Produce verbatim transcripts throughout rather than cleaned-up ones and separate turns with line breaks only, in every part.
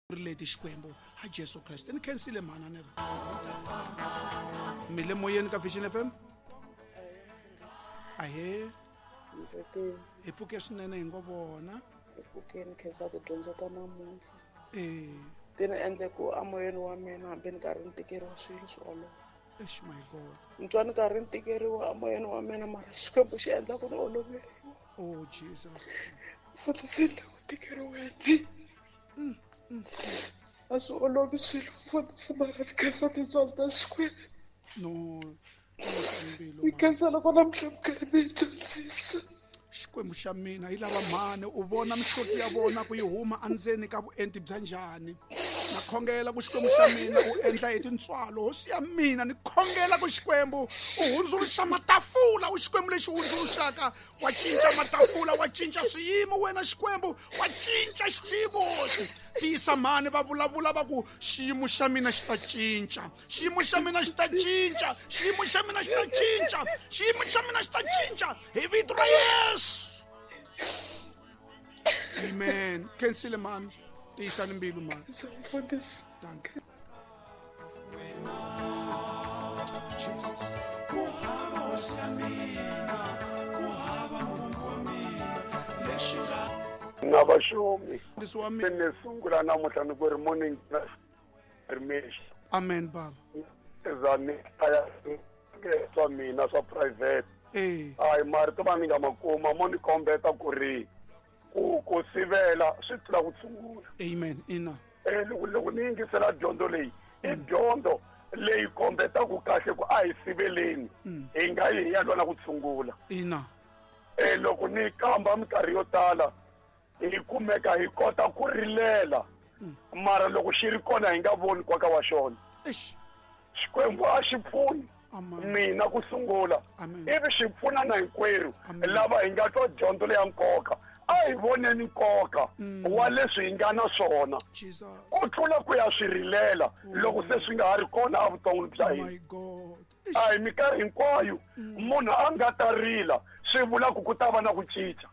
Ri leti Xikwembu ha Jesu Kreste ni khensile mhana ni ri mi le moyeni ka Vision F M. Ahee, hi pfuke swinene hi ngo vona
hi pfukeni khensa tidyondzo ta namuntlha.
Eh,
ti ni endle ku amoyeni wa mina hambi ni karhi ni tikeriwa swilo swi olova.
Eish, my God,
ni twa ni karhi ni tikeriwa amoyeni wa mina mara Xikwembu xi endla ku ni oloveriwa.
Oh Jesus,
futhi swi endla ku tikeriweni a swi olovi swilo mfundhisi mara ni khensa tintswalo ta Xikwembu.
No,
ni khensa loko namuntlha mi karhi mi hi dyondzisa.
Xikwembu xa mina yi lava mhani u vona mihloti ya vona ku yi huma endzeni ka vuenti bya njhani. Na khongela ku Xikwembu xa mina u endla hi tintswalo hosi ya mina ni khongela ku Xikwembu u hundzuluxa matafula u Xikwembu lexi hundzuluxaka wa cinca matafula wa cinca swiyimo wena Xikwembu wa cinca xiyimo hosi. Tiyisa mhani va vulavula va ku xiyimo xa mina xi ta cinca, xiyimo xa mina xi ta cinca, xiyimo xa mina xi ta cinca, xiyimo xa mina xi ta cinca hi vito ra Yesu. Amen. Khensile mhani, tiyisani mbilu mhani. Thank you. Jesus.
Na vaxumi.
Mfundhisi wa mina.
Ni sungula namuntlha ni ku ri morning rimexi.
Amen baba.
Za ni hlaya swa mina swa private.
Eh.
Hayi marito va ni nga ma kuma mo ni kombeta ku ri ku ku sivela swi tlula ku tshungula.
Amen. Ina.
Eh loko loko ni yingisela dyondzo leyi i dyondzo leyi kombetaka kahle ku a hi siveleni hi nga yi hi ya lwa na ku tshungula.
Ina.
Eh loko ni kamba minkarhi yo tala hi kumeka hi kota ku rilela mara loko xi ri kona hi nga voni nkoka wa xona.
Eish.
Xikwembu a xi pfuni mina ku sungula ivi xi pfuna na hinkwerhu lava hi nga twa dyondzo leya nkoka. A hi voneni nkoka wa leswi hi nga na swona ku tlula ku ya swi rilela loko se swi nga ha ri kona evuton'wini bya hina. A hi minkarhi hinkwayo munhu a nga ta rila swi vula ku ku ta va na ku cinca.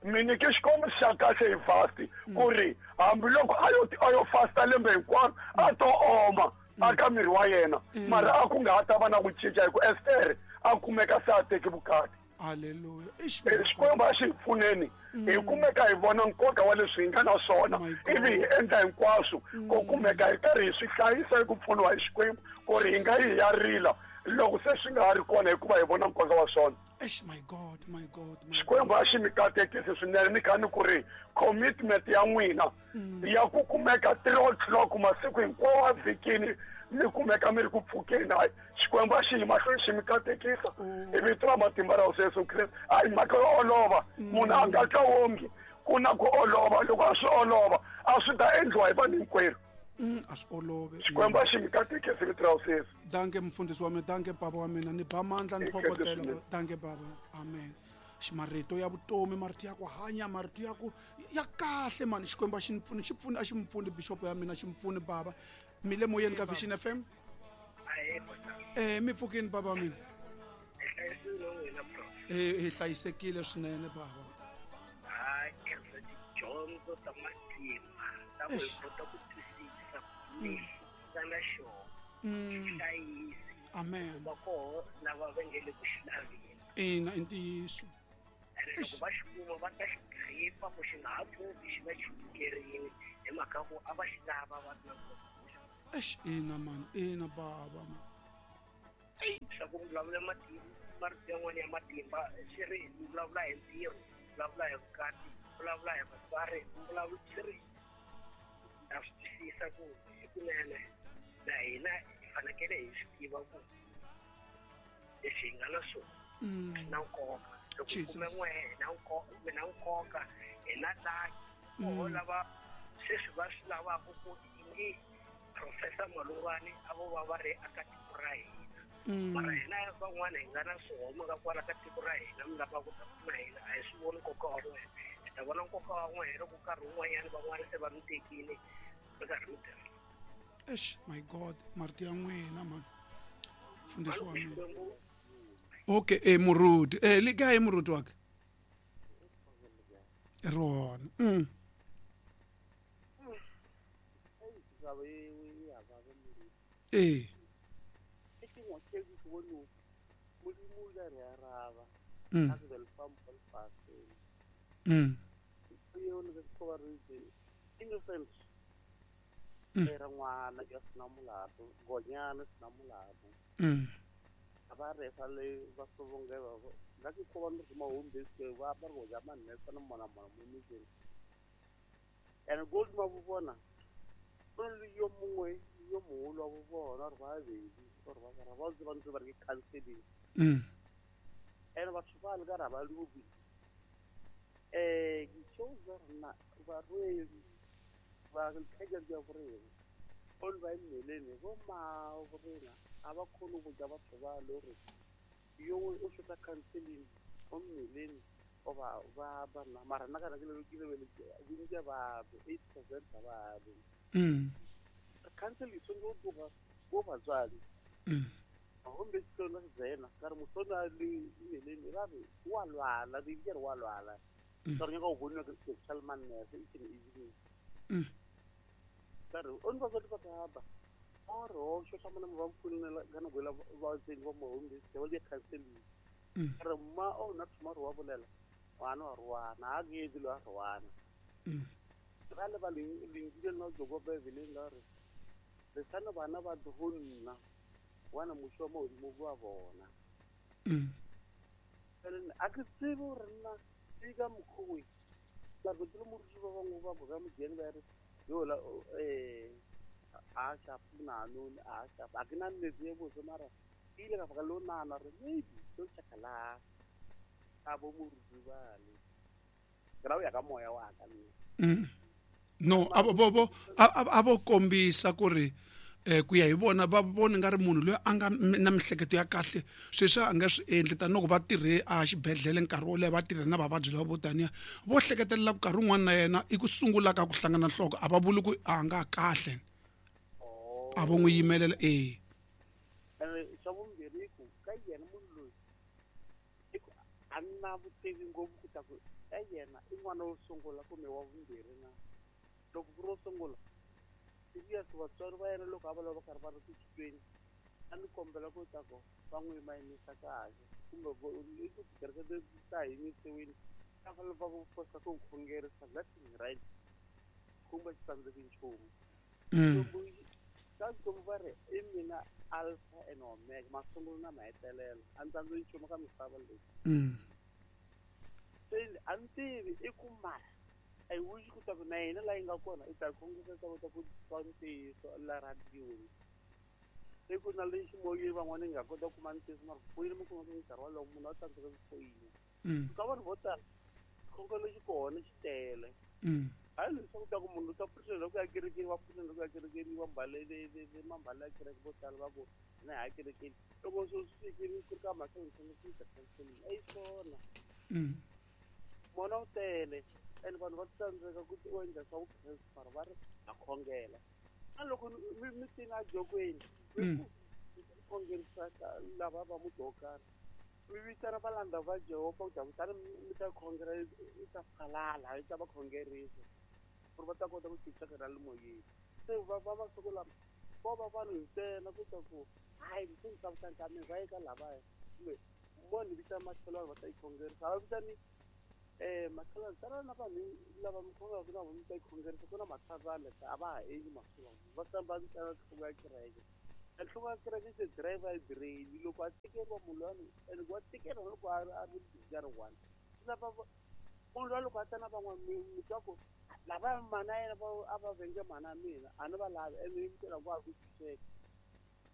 Mi nyike xikombiso xa kahle hi fast ku ri hambiloko a yo a yo fasta lembe hinkwaro a to oma aka miri wa yena mara a ku nga ha ta va na ku cinca hi ku Ester a kumeka se a teki vukati.
Hallelujah.
Xikwembu a xi hi pfuneni hi kumeka hi vona nkoka wa leswi hi nga na swona ivi hi endla hinkwaswo ku kumeka hi karhi hi swi hlayisa hi ku pfuniwa hi Xikwembu ku ri hi nga yi hi ya rila loko se swi nga ha ri kona hikuva hi vona nkoka wa swona.
Eish, my God, my God, my
Xikwembu a xi mi katekisi swinene ni kha ni ku ri commitment ya n'wina ya ku kumeka three o'clock masiku hinkwawo a vhikini mi kumeka mi ri ku pfukeni. Hayi Xikwembu a xi yi mahlweni xi mi katekisa hi vito ra matimba ra Hosi Yesu Kreste. A hi mhaka yo olova, munhu a nga twa wongi ku na ku olova. Loko a swi olova a swi ta endliwa hi vanhu hinkwerhu.
A swi olove.
Xikwembu a xi mi katekisi vito ra Hosi Yesu.
Danke mfundhisi wa mina, danke baba wa mina, ni ba mandla ni phokotela. Danke baba. Amen. Marito ya vutomi, marito ya ku hanya, marito ya ku ya kahle mani. Xikwembu a xi ni pfuni, xi pfuni a xi mi pfuni bishop ya mina, xi mi pfuni baba. Mi le moyeni ka Vision F M. Eh mi pfukini baba mina. Eh hi hlayisekile swinene baba.
Hayi khensa tidyondzo ta matimba ta ku hi kota ku twisisa lexi nga na xona. Hlayisi.
Amen.
Va koho lava va nge le ku xi laveni.
Ina i ntiyiso.
Loko va xi kuma va ta xi gripa ku xi nga ha pfuki xi va xi pfukerini hi mhaka ku a va xi lava va ri na nkoka.
Eish, ina man, ina baba man.
Swa ku vulavula matimba, marito yan'wana ya matimba swi ri vulavula hi ntirho, vulavula hi vukati, vulavula hi vatswari, vulavula swi ri na swi twisisa ku hikunene na hina hi fanekele hi swi tiva ku leswi hi nga na swona swi na nkoka. Loko hi kume n'we hi na nkoka, hi na nkoka, hi na laki koho lava sweswi va swi lavaka ku ingi Professor Malungwani a vo va va ri aka tiko ra hina. Mara hina van'wana hi nga na swihoma ka kwala ka tiko ra hina mi lava ku ta pfuna hina a hi swi voni nkoka wa n'wina. Hi ta vona nkoka wa n'wina loko nkarhi wun'wanyana van'wana se va mi tekile mi karhi mi tirha.
Eish, my God, marito ya n'wina man. Mfundhisi wa mina. Okay, eh Muruti. Eh le kae Muruti wa ka? Rona. Mm.
taba e ya ba ba modimo
ee
e ke ngwe ke ke bone modimo o ile a re araba
Mm.
a ke be le fa mo lefatsheng
Mm.
eo le ke ba re itse innocent
Mm.
e re ngwana ya sena molato gonyana sena molato
Mm.
a ba re fa le ba sobonge ba ga ke ko ba no ma home base ba ba go ja manne tsana mona mona mo metseng and gold ma bo bona go le yo mongwe yo mogolo wa bo bona re ba bedi gore ba ba ba ba ntse ba re ke counseling
Mm.
and batho ba le ka ra ba lubi eh ke tšo rena ba rwedi ba khaja ya borena o le ba mmelene bo ma borena a ba khone go ja batho ba le gore yo o shota counseling o mmelene o ba ba bana mara nna kana ke le ke le bontsi ba eight percent ba ba
Mm.
counseling tshwanetse go tloga bo batswadi
Mm.
gomme se tsena ka re mosona le mmelene ba re wa lwala di ke re wa lwala
Mm.
ka re nyaka go bonwa ke social manners e tsene e
Mm.
ka re o ntse ba ba ba ore o shota mona ba mfunela ka nako ela ba tseng ba mo home base ba di counseling
Mm.
ka re mma o nna thoma re wa bolela ngwana wa rwana a ke dilo a rwana
Mm.
ga le ba leng leng nna go go bebeleng la re re sana bana ba go nna wana mosho mo modimo wa bona
Mm.
ene a ke tsebe gore nna ke ka mokgwe la go tsela moruti ba bangwe ba boga mojeng ba re yo la eh a sha puna no a sha a ke na nnete e botse mara ke ile ka baka lo nana re maybe so tshakala a bo moruti ba le ke ra o ya ka moya wa ka nna
Mm. No a bo bo bo a a- a vo kombisa ku ri eh ku ya hi vona va vona nga ri munhu loyi a nga m- na mihleketo ya kahle sweswi a nga swi endli tanihiloko va tirhe a xibedhlele nkarhi wo leha va tirha na vavabyi lava vo taniya vo hleketelela ku nkarhi wun'wana na yena i ku sungula ka ku hlangana nhloko a va vuli ku a nga kahle a vo n'wi yimelela ee
ene xa vumbirhi i ku ka yena munhu loyi i ku a na vutivi ngopfu ku ta ku ka yena i n'wana wo sungula kumbe wa vumbirhi na loko ku ri wo sungula serious vatswari va yena loko a va lava va karhi va ri ku titweni a ni kombela ku ta ku va n'wi yimayimisa kahle kumbe vo- i ku tikereke leti ta yimisiwile a fanele va ku fosa ku khongerisa that is right kumbe xi tsandzeki nchumu
Mm.
ka Xikwembu va ri i mina alpha and omega masungulo na mahetelelo a ni tsandzeki nchumu ka misava leyi
Mm.
se a ni tivi i ku mara I wish ku ta ku na yena laha yi nga kona i ta khongisa ta kota ku twa ntiyiso la radiyoni i ku na lexi moyeni van'wana yi nga kota ku kuma ntiyiso mara ku foyina mi kuma ku nkarhi wolowo munhu a tsandzeka ku foyina
Mm.
ka vanhu vo tala xikhongelo xi kona xi tele
Mm.
hayi leswaku ta ku munhu u ta pfuxela ku ya kerekeni va pfuxela ku ya kerekeni va mbale mambale ya kereke vo tala va ku na ya kerekeni loko swo swi fikile ku ri ka mhaka yo ta counseling a yi swona
Mm.
mona wu tele and vanhu va tsandzeka ku u endla swa vukreste mara va ri ha khongela na loko mi mi tini ejokweni mi
Mm.
ku khongerisa ka- lava va muti wo karhi mi vitana valanda va Jehovha ku ta kutani mi ta khongela i ta phalala i ta va khongerisa ku ri va ta kota ku twisisa ra le moyeni se va va masiku lama ko va vanhu ntsena ku ta ku hayi se ni tsavuta ka mina va ye ka lavaya kumbe mo ni vitana makhelwani va ta yi khongerisa a va vitani eh makhelwani tana na vanhu lava mi khongelaka na vona mi ta yi khongerisa ku na mathavana a va ha endli masiku lama va tshamba ntsena nhloko ya kereke nhloko ya kereke se driver brain loko a tekeriwa munhu lowani and wa tekeriwa loko a ri a ri busy a ri one swi lava munhu luya loko a ta na van'wana mi mi twa ku lava mana yena va a va venge mana mina a ni va lavi ene yi mitela ku a ku tshunxeka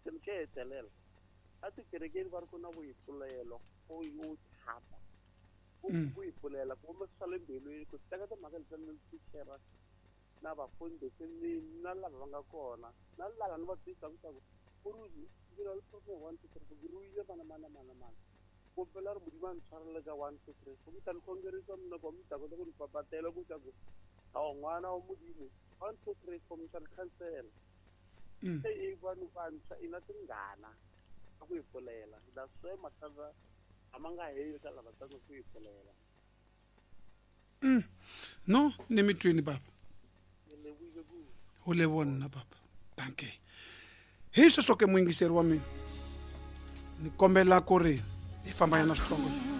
xilo xo hetelela a tikerekeni va ri ku na vuyipfulelo o o thapa
Mm.
ku yipfulela ku humesa swa le mbilwini ku teka timhaka leti ni tichera na vafundhisi ni na lava va nga kona na lava ni va twisaka ku ku ri ndzi le problem one two three four ke ruile mana mana mana mana kombela ri modimo a ntshwarele ka one two three four mi ta ni khongerisa mina ku mi ta kota ku ni papatela ku ta ku awa n'wana wa modimo one two three four mi ta ni khansela
Mm.
se i vanhu vantshwa i na tingana ta ku yi pfulela that's why mathata a ma nga heli ka lava tsandzeka ku yi pfulela
Mm. No ni mi twini baba
ni lebohile kudu
ho leboha nna baba Dankie. Hi sweswo ke muyingiseri wa mina, ni kombela ku ri hi famba yana switsongo.